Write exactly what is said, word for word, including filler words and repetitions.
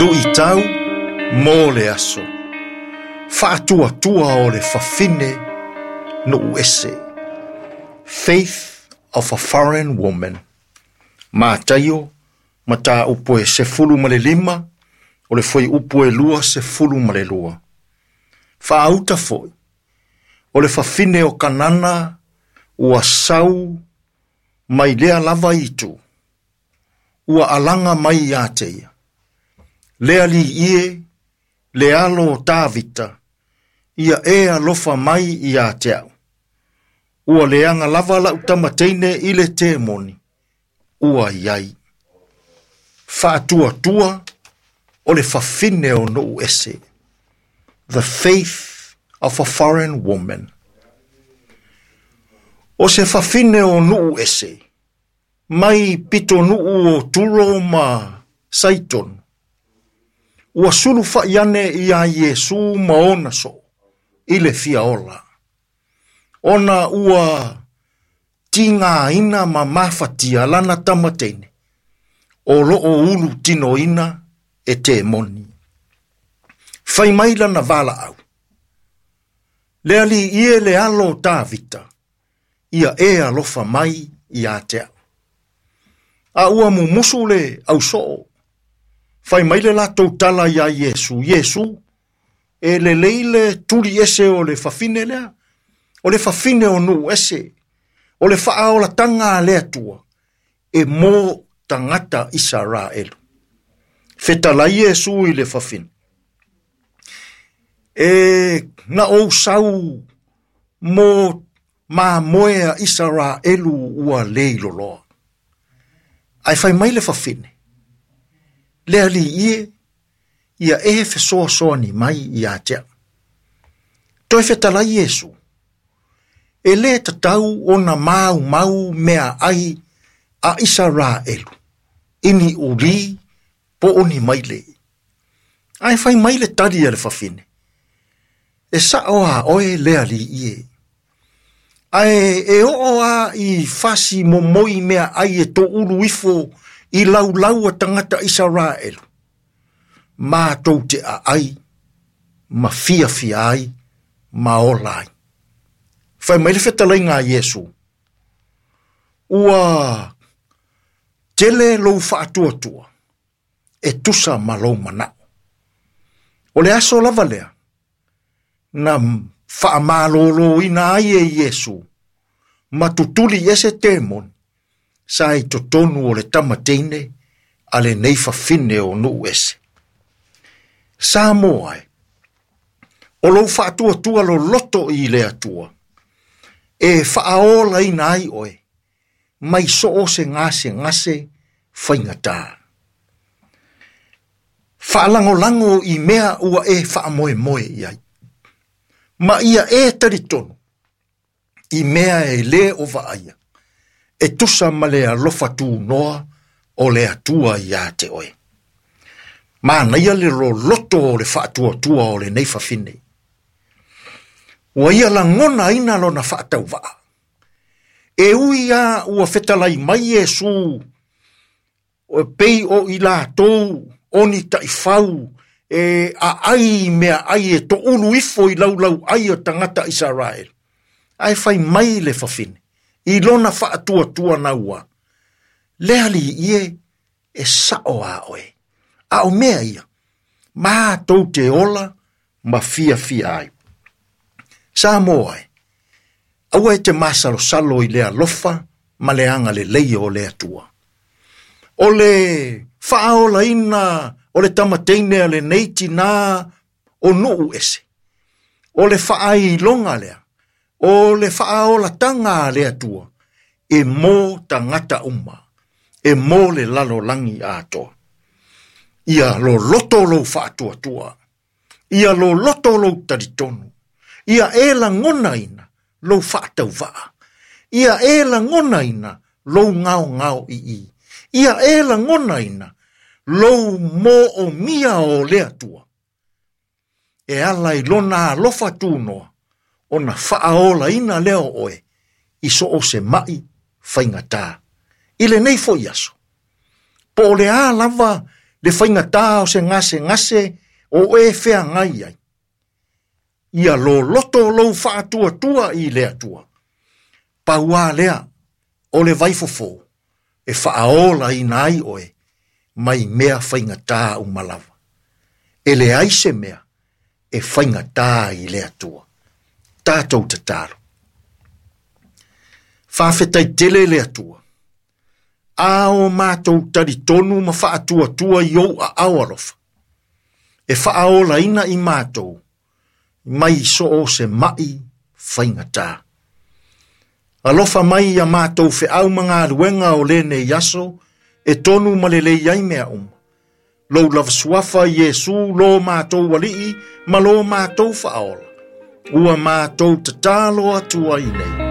Luʻitau mo le aso. Faatuatua o le fafine nuu ese. Faith of a Foreign Woman. Mataio, mataupu e sefulu ma le lima, o le fuaiupu e lua sefulu ma le lua. Faauta foi, o le fafine o Kanana ua sau mai lea lava itu, ua alaga mai ia te ia. Le Alii e, le alo o Tavita, ia e alofa mai ia te au. Ua leaga lava lau tamateine i le temoni, ua iai. Faatuatua o le fafine o nuu ese. The faith of a foreign woman. O se fafine o nuu ese, mai pitonuu o Turo ma Saitonu. Ua sulufa'i ane ia Iesu ma ona soo, i le fia ola. Ona ua tigaina ma mafatia lana tamateine, o loo ulu tinoina e temoni. Fai mai lana valaau. Le Alii e le alo o Tavita, ia e alofa mai ia te au. A ua mumusu le ausoo, fai mai le latou tala ia Iesu, Iesu, e lelei le tuli ese o le fafine lea, o le fafine o nuu ese, o le faaolataga a le Atua, e mo tagata Isaraelu. Fetalai Iesu i le fafine. E na ou sau mo mamoe a Isaraelu ua leiloloa. Ae fai mai le fafine. Le Alii e, ia e fesoasoani mai ia te au. Toe fetalai Iesu. E le tatau ona maumau mea ai a Isaraelu. Ini uli po o ni maile. Ae fai mai le tali a le fafine. E sao a oe le Alii e. Ae e oo a i fasi momoi mea ai e toulu ifo i laulau a tagata Isaraelu. Mātou te aai, ma fiafia ai, ma ola ai. Fai mai le fetalaiga a Iesu. Ua tele lou faatuatua, e tusa ma lou manao. O le aso lava lea, na faamaloloina ai e Iesu, ma tutuli ese temoni, sa i totonu o le tamateine a lenei fafine o nuu ese. Samoa e, o lou faatuatua loloto i le Atua, e faaolaina ai oe, mai so o se gasegase faigata. Faalagolago i mea ua e faamoemoe i ai. Ma ia e talitonu, i mea e le o vaaia, e tusa ma le alofa tunoa o le Atua ia te oe. Manaia le loloto o le faatuatua o lenei fafine. Ua ia lagonaina lona faatauvaa. E ui a ua fetalai mai Iesu, o pei o i latou oni taifau, e aai mea ai e toulu ifo i laulau ai o tagata Isaraelu. Ae fai mai le fafine, i lona faatuatua naua. Le Alii e, e sao a oe. A o mea ia, mātou te ola ma fiafia ai. Samoa e, aua e te masalosalo i le alofa ma le agalelei o le Atua. O le faaolaina o le tamateine a lenei tinā o nuu ese. O le faailoga lea, o le faaolataga a le Atua, e mo tagata uma, e mo le lalolagi atoa. Ia loloto lou faatuatua, ia loloto lou talitonu, ia e lagonaina lou faatauvaa, ia e lagonaina lou gaogao ii, ia e lagonaina lou moomia o le Atua. E ala i lona alofa tunoa, ona faaolaina lea o oe, i so o se mai faigata. I lenei foi aso, po o le a lava Le faigata o se gasegase o e feagai ai. Ia loloto lou faatuatua i le Atua. Pauā lea o le vaifofo e faaolaina ai oe mai mea faigata uma lava. E leai se mea e faigata i le Atua. Tatou tatalo. Faafetai tele le Atua. A o matou talitonu ma faatuatua i ou aao alofa. E faaolaina i matou mai so o se mai faigata. Alofa mai ia matou feau ma galuega o lenei aso, e tonu ma lelei ai mea uma. Lou lava suafa Iesu lo matou alii ma lo matou faaola. Ua matou tatalo atu ai nei.